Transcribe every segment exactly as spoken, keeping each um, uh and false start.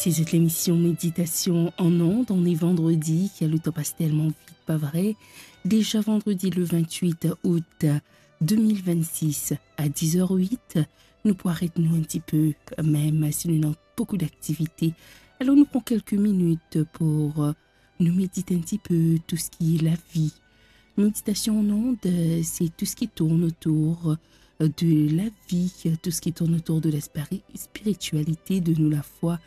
Ti zot lemision Méditation en Ondes, on est vendredi, le tan pas telman vit, pa vre? Deza vandredi le vingt-huit août deux mille vingt-six à dix heures huit, nou pou aret nou enn tipe, mem si nou ena boukou daktivite. Alor nou pran kelke minit pou, euh, nou medit enn tipe tou seki lavi. Méditation en Ondes, euh, c'est tout ce qui tourne autour, euh, de la vie, euh, tout ce qui tourne autour de la spiri-, spiritualité, de nou lafwa,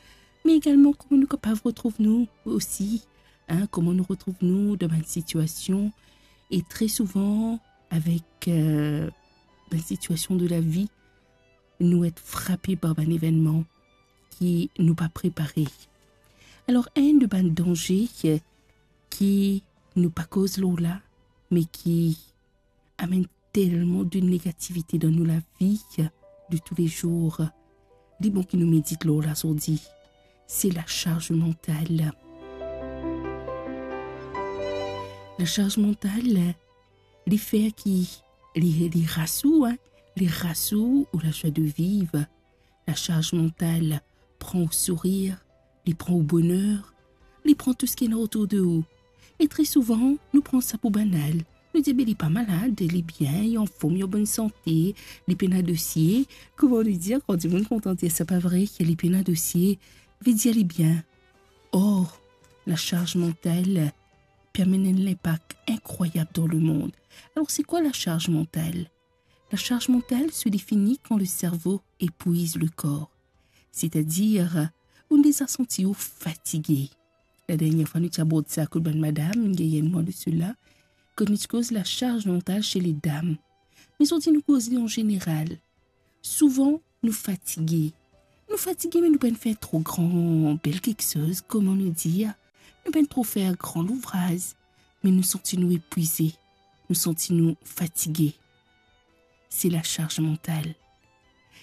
me egalman kouma nou kapav retrouv nou osi, hein, kouma nou retrouv nou dan bann sitiasion, e tre souvan avek, euh, bann sitiasion de lavi, nou et frape par bann evennman ki nou pa prepare. Alor, enn de bann danze ki, ki nou pa koz lor la, me ki amenn telman de negativite dan nou lavi de tous les jours, li bon ki nou medit lor la zordi, se lasarz mantal. Lasarz mantal, li fer ki, li, li ras ou, hein, li ras ou, ou lazwa de viv. Lasarz mantal pran ou sourir, li pran ou boner, li pran tou seki ena otour de ou. E tre souvan, nou pran sa pou banal. Nou dir, "Be, li pa malad, li bien, li anform, li an bonn sante, li pena dosie." Kouma nou dir, kan dimoun kontan dir sa, pa vre, ki li pena dosie, ve dir li bien. Or, lasarz mantal pe amenn enn linpak inkrwayab dan lemond. Alor, se kwa lasarz mantal? Lasarz mantal se defini kan le servo epwiz le kor, setadir, ou deza santi ou fatige. Ladernie fwa nou ti abord sa kot bann madam, nou gagn enn mwa de sela, kot nou ti koz lasarz mantal se ledam. Me zordi nou koze an zeneral. Souvan, nou fatige. Nou fatige, me nou pa'nn fer tro gran, bel kiksoz, kouma nou dir. Nou pa'nn tro fer gran louvraz, me nou santi nou epwize, nou santi nou fatige. Se lasarz mantal.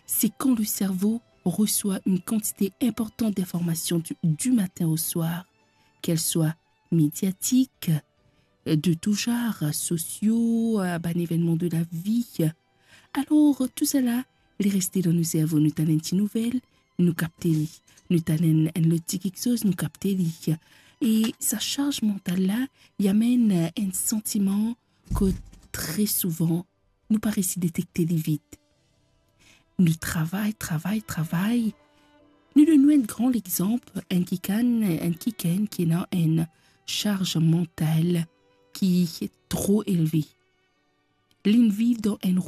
Se kan le servo reswa enn kantite inportan dinformasion du, du matin au soir, kel swa mediatik, de tou zar, sosio, bann evennman de lavi. Alor, tou sala, li reste dan nou servo, nou tann enn ti nouvel, nou kapte li. Nou tann enn, enn lot ti kiksoz, nou kapte li. E sa sarz mantal la, li amenn enn santiman kot tre souvan, nou pa resi detekte li vit. Nou travay, travay, travay. Nou donn nou enn gran lexanp, enn kikenn, enn kikenn ki ena enn sarz mantal ki tro elve. Li'nn viv dan enn